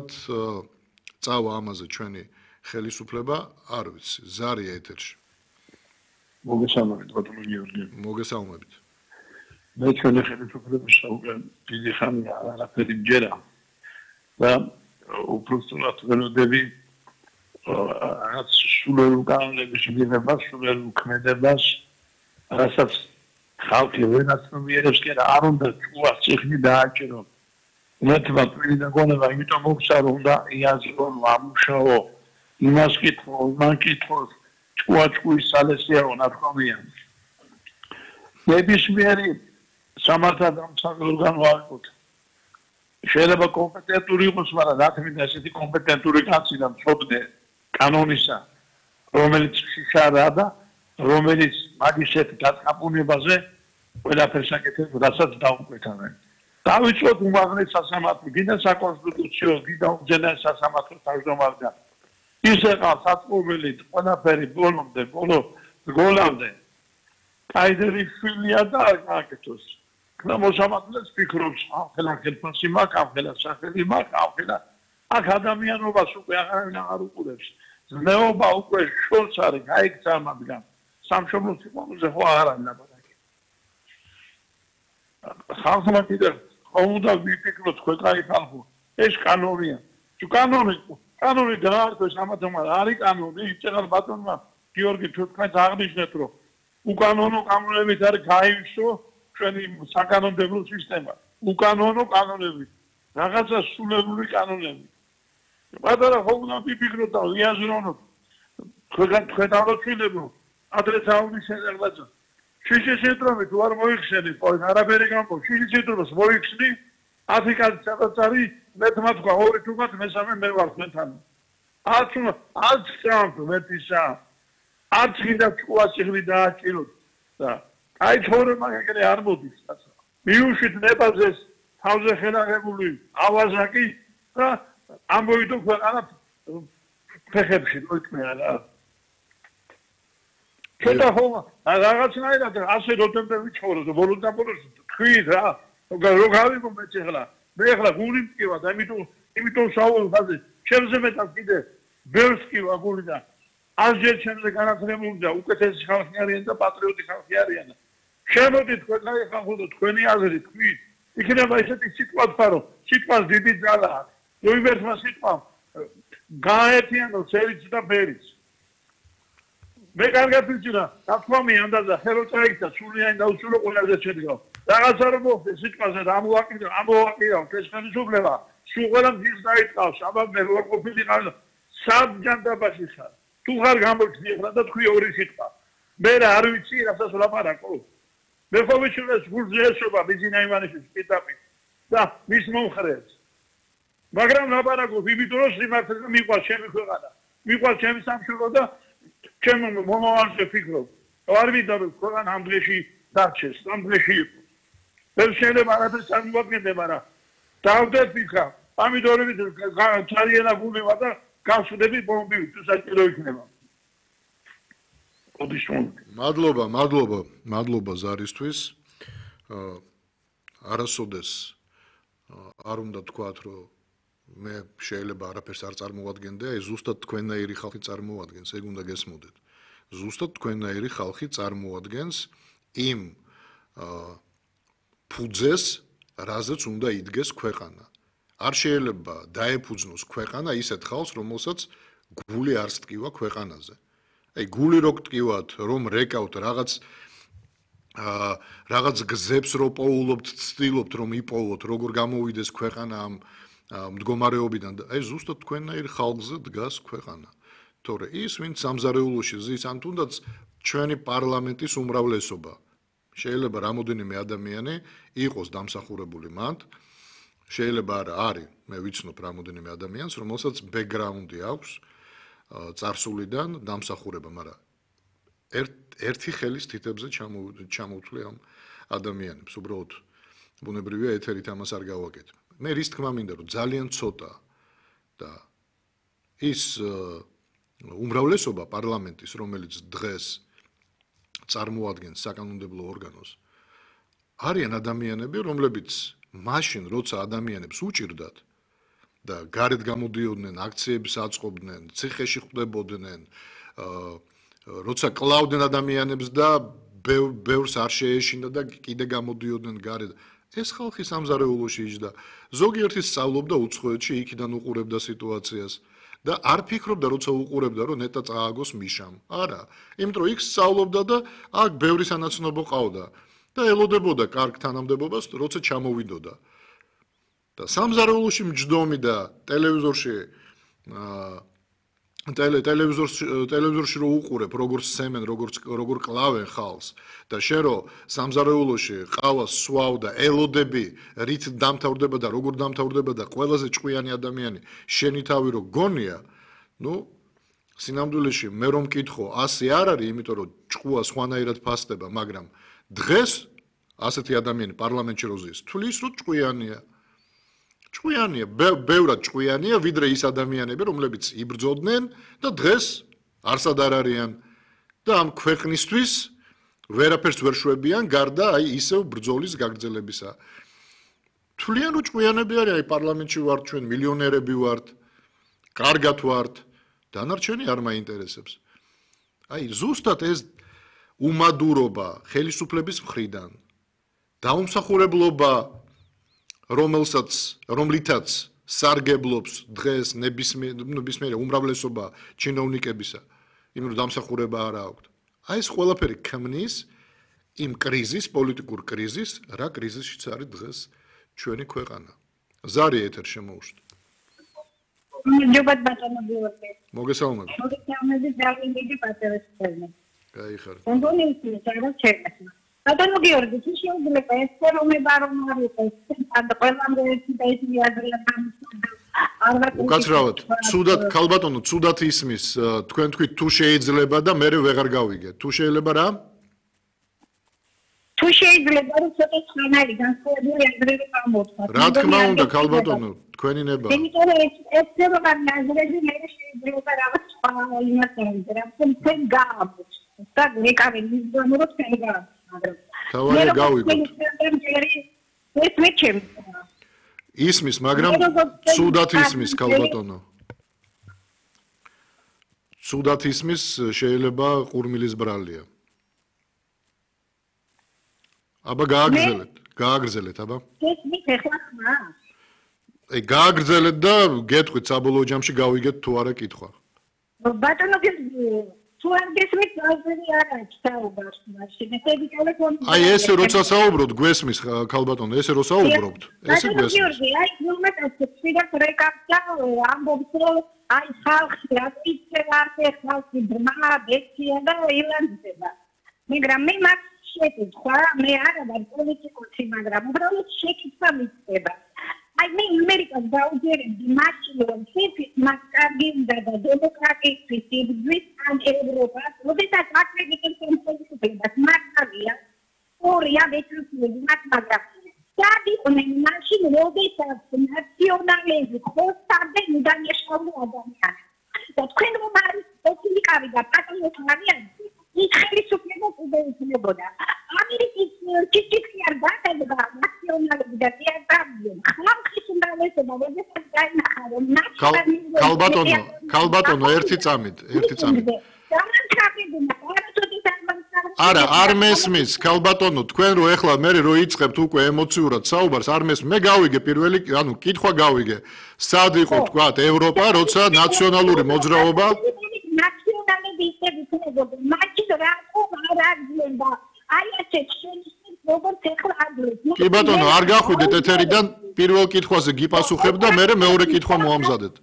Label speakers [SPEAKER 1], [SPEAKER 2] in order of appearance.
[SPEAKER 1] წავა ამაზე ჩვენი ხელისუფლება, არ ვიცი, ზარია ეთერში.
[SPEAKER 2] მოგესალმებით, ბატონო გიორგი.
[SPEAKER 1] მოგესალმებით.
[SPEAKER 2] მე ჩვენი ხელისუფლების უკვე დიდი ხანია არაფერი მჯერა და უბრალოდ ველოდები რაც სულელ კანონების მიღებას, სულელ ქმედებას, რასაც ხალხი ვენაცნობიერებს კი არ უნდა ჭუას წიხნი დააჭირო. ნათმა პირიდან გონება იმიტომ მოგცარო უნდა იაზრონ ამუშაო იმას კითხო, იმან კითხოს ჭუაჭკუის სალესიაო ნათქვამია. ნებისმიერი სამართალდამცავი ორგანო აყოთ. შეიძლება კომპეტენტური იყოს, მაგრამ რა თქმა უნდა ესეთი კომპეტენტური კაცი და მწოდნე კანონისა, რომელიც შიშარა და რომელიც მაგისეთ გაწყაპუნებაზე ყველაფერს აკეთებს, რასაც დაუკვეთავენ. დავიწყოთ უმაღლეს სასამართლო, გინდა საკონსტიტუციო, გინდა უზენაეს სასამართლო თავმჯდომარიდან. ისე ყავს საწმობილი ყველაფერი ბოლომდე, გოლამდე. კაიდერი შვილია და აკეთოს. და მოსამართლეს ფიქრობს, ახლა ხელფასი მაქვს, ახლა სახელი მაქვს, ახლა აქ ადამიანობას უკვე აღარ უყურებს. ზნეობა უკვე შორს არის, გაიქცა მათგან. სამშობლოს სიყვარულზე ხო არ არის ლაპარაკი. ხალხმა კიდევ უნდა ვიფიქროთ თქვენ კაი ხალხო, ეს კანონია. თუ კანონი დაარქვეს ამათმა არის კანონი, იცეღარ ბატონმა გიორგი თქვენს აღნიშნეთ, რომ უკანონო კანონებით არის გაივსო ჩვენი საკანონმდებლო სისტემა. უკანონო კანონები, რაღაცა სულელური კანონები. პატარა ხო უნდა ვიფიქროთ და ვიაზრონოთ. თქვენ აღწევლებო ადრე თავის რაღაცა. შიშეშენტრომი თუ არ მოიხსენე, ყოველ არაფერი გამო შიშეშენტრომს მოიხსნი, აფრიკაში სადაც არის, მე თქვა ორი თუმად მესამე მე ვარ თქვენთან. არც სამთ მეტისა. არც გინდა ჭკუას იღლი დააჭიროთ და აი თორემ ეგრე არ მოდის. მიუშვით ნებაზეს თავზე ხელაღებული ავაზაკი და ამბოიდო ქვეყანა ფეხებში მოიწმეა რა. ცოტა ხომ რაღაცნაირად ასე როდემდე ვიცხოვროთ ბოლოს თქვით რა რო გავიგო მე ახლა მე ახლა გული მткиვა და იმიტომ საუბრობ ხაზე ჩემზე მეტად კიდე ბევრს მткиვა გული და ასჯერ ჩემზე განათლებული და უკეთესი ხალხი არიან და პატრიოტი ხალხი არიან შემოდით თქვენ ხალხო და თქვენი აზრი თქვით იქნება ესეთი სიტყვა თქვარო სიტყვას დიდი ძალა აქვს უიმერთმა სიტყვამ გააერთიანო სერიც და ბერიც მე კარგად ვიცი რა თქმა უნდა და ხელო წაიქცა სულიანი და უსულო ყველაზე შედგა რაღაცა რომ მოხდეს სიტყვაზე და ამოვაკიდავ ეს ხელისუფლება სულ ყველა მის დაიწყავს აბა მე რო ყოფილიყავ საბჯანდაბაში ხარ თუ ხარ გამოჩნდი ახლა და თქვი ორი სიტყვა მე რა არ ვიცი რასაც ვლაპარაკო მე ხო ვიცი გულზე ესობა ბიზინა ივანიშვილის პიტაპი და მის მომხრეს მაგრამ ლაპარაკობ იმიტომ რომ სიმართლე მიყვარს ჩემი ქვეყანა მიყვარს ჩემი სამშობლო და ჩემ მომავალზე ფიქრობ არ ვიდა რომ ქვეყანა ამ დღეში დარჩეს ამ დღეში იყო ვერ შეიძლება არაფერს წარმოადგენდე მაგრამ დავდეთ ფიქრა ამიტომ ძალიან გულება და გასვდები ბომბივით თუ საჭირო იქნება
[SPEAKER 1] მადლობა ზარისთვის არასოდეს არ უნდა თქვათ რომ მე შეიძლება არაფერს არ წარმოვადგენდე აი ზუსტად თქვენნაირი ხალხი წარმოადგენს ეგ უნდა გესმოდეთ ზუსტად თქვენნაირი ხალხი წარმოადგენს იმ ფუძეს რაზეც უნდა იდგეს ქვეყანა არ შეიძლება დაეფუძნოს ქვეყანა ისეთ ხალხს რომელსაც გული არ სტკივა ქვეყანაზე აი გული რო გტკივათ რომ რეკავთ რაღაც გზებს რო პოულობთ ცდილობთ რომ იპოვოთ როგორ გამოვიდეს ქვეყანა ამ მდგომარეობიდან აი ზუსტად თქვენნაირ ხალხზე დგას ქვეყანა თორე ის ვინც სამზარეულოში ზის ან თუნდაც ჩვენი პარლამენტის უმრავლესობა შეიძლება რამოდენიმე ადამიანი იყოს დამსახურებული მანდ შეიძლება არა არის მე ვიცნობ რამოდენიმე ადამიანს რომელსაც ბექგრაუნდი აქვს წარსულიდან დამსახურება მაგრამ ერთი ხელის თითებზე ჩამოვთვლი ამ ადამიანებს უბრალოდ ბუნებრივია ეთერით ამას არ გავაკეთებ მე რის თქმა მინდა რომ ძალიან ცოტა და ის უმრავლესობა პარლამენტის რომელიც დღეს წარმოადგენს საკანონმდებლო ორგანოს არიან ადამიანები რომლებიც მაშინ როცა ადამიანებს უჭირდათ და გარეთ გამოდიოდნენ, აქციებს აწყობდნენ, ციხეში ხვდებოდნენ, როცა კლავდნენ ადამიანებს და ბევრს არ შეეშინდა და კიდე გამოდიოდნენ გარეთ. ეს ხალხი სამზარეულოში იჯდა. ზოგიერთი სწავლობდა უცხოეთში, იქიდან უყურებდა სიტუაციას და არ ფიქრობდა, როცა უყურებდა, რომ ნეტა წააგოს მიშამ. არა, იმიტომ რომ იქ სწავლობდა და აქ ბევრი სანაცნობო ყავდა და ელოდებოდა კარგ თანამდებობას, როცა ჩამოვიდოდა. და სამზარეულოში მჯდომი და ტელევიზორში ტელევიზორში რო უყურებ, როგორც სემენ, როგორ კლავენ ხალხს და შენ რო სამზარეულოში ყავას სვავ და ელოდები, რით დამთავრდება და როგორ დამთავრდება და ყველაზე ჭკვიანი ადამიანი შენი თავი რო გონია, ნუ სინამდვილეში მე რომ მკითხო 100 არ არის, იმიტომ რომ ჭკუა სხვანაირად ფასდება, მაგრამ დღეს ასეთი ადამიანი პარლამენტში რო ზის, თulis რო ჭკვიანია. ჭკვიანია, ბევრად ჭკვიანია, ვიდრე ის ადამიანები, რომლებიც იბრძოდნენ და დღეს არსად არ არიან და ამ ქვეყნისთვის ვერაფერს ვერ შვებიან, გარდა აი ისევ ბრძოლის გაგრძელებისა. თვლიან რომ ჭკვიანები არის, აი პარლამენტში ვართ ჩვენ, მილიონერები ვართ, კარგად ვართ, დანარჩენი არ მაინტერესებს. აი ზუსტად ეს უმადურობა ხელისუფლების მხრიდან, დაუმსახურებლობა რომლითაც სარგებლობს დღეს ნებისმიერი უმრავლესობა ჩინოვნიკებისა, იმ რომ დამსახურება არ აქვს. აი ეს ყველაფერი ქმნის იმ კრიზისს, პოლიტიკურ კრიზისს, რა კრიზისშიც არის დღეს ჩვენი ქვეყანა. ზარი ეთერ შემოუშვა.
[SPEAKER 3] ჯობათ ბატონო გიორგი.
[SPEAKER 1] მოგესალმებით.
[SPEAKER 3] მოგესალმებით დავინდიდი პატრონი.
[SPEAKER 1] გაიხარეთ.
[SPEAKER 3] კონდონენცია რა შეიძლება. ბატონო გიორგი, შეიძლება ეს ფერომება რომ არის და ყველამ ერთი და ის მიაძლევს
[SPEAKER 1] უკაცრავად, ცუდად ქალბატონო, ცუდად ისმის, თქვენ თქვით თუ შეიძლება და მე ვეღარ გავიგე. თუ შეიძლება რა?
[SPEAKER 3] თუ შეიძლება რომ ცოტა ხანარი განსხვავებული აზრები გამოთქვა.
[SPEAKER 1] რა თქმა უნდა, ქალბატონო, თქვენი ნება.
[SPEAKER 3] იმიტომ რომ ეს ფერომა აზრები მე შეიძლება რაღაც სხვა იმასები, რა თქვენ გააქვს. და მეკავე მიზდომო რომ თქვენ გააქვს.
[SPEAKER 1] თავარი გავიგოთ. ისმის, მაგრამ ცუდად ისმის ქალბატონო. ცუდად ისმის შეიძლება ყურმილის ბრალია. აბა გააგრძელეთ, აბა.
[SPEAKER 3] ისმის ეხლა ხმა.
[SPEAKER 1] აი გააგრძელეთ და გეტყვით საბოლოო ჯამში გავიგეთ თუ არა კითხვა.
[SPEAKER 3] ბატონო თუ არ გესმით, აზრი არ აქვს საუბარს მაშინ.
[SPEAKER 1] აი ესე როცა საუბრობთ, გვესმის ქალბატონო, ესე რო საუბრობთ, ესე გვესმის.
[SPEAKER 3] გიორგი, აი ნორმალურად შეიძლება რეკაპტა ამბობს რომ აი ხალხი აქტივდება, ხალხი ბრმა, ბექცია და ილანდება. მაგრამ მე მაგ შეკითხვა, მე არა ვარ პოლიტიკოსი, მაგრამ უბრალოდ შეკითხვა მიწება. აი მე ამერიკას დაუჯერებდი მაშინ რომ შეფის მასკარგინდა და დემოკრატიის იბრძვის ან ევროპას, როდესაც აკრედიტებს პოლიტიკას მასკარგია, ორია ვეცრუცები მაგრამ სადიყვნენ მაშინ როდესაც ნაციონალიზმი ხოსტარდნენ უდანაშაულო ადამიანებს. და თქვენ რომ არის პოლიტიკავი და პატრიოტები, ის ხელისუფლებას უდეუფლებოდა. ამერიკის ჭიჭიქი არ გაკეთდა ნაციონალიზმი და თეატრები. ხალხის უმრავლესობა როდესაც დაინახა რომ
[SPEAKER 1] ქალბატონო, ერთი წამით. არა, არ მესმის, ქალბატონო, თქვენ რო ეხლა მე რო იწყებთ უკვე ემოციურად საუბარს, არ მესმის. მე გავიგე პირველი, ანუ კითხვა გავიგე. სად იყო თქვა ევროპა, როცა ნაციონალური მოძრაობა
[SPEAKER 3] ნაციონალები ისევ იქნებოდა, მაშინ რატომ არ აღძლებდა? აი ასეთ შენიშნებს როგორც ეხლა აღძლებთ.
[SPEAKER 1] კი ბატონო, არ გახვიდეთ ეთერიდან, პირველ კითხვაზე გიპასუხებ და მე მეორე კითხვა მოამზადეთ.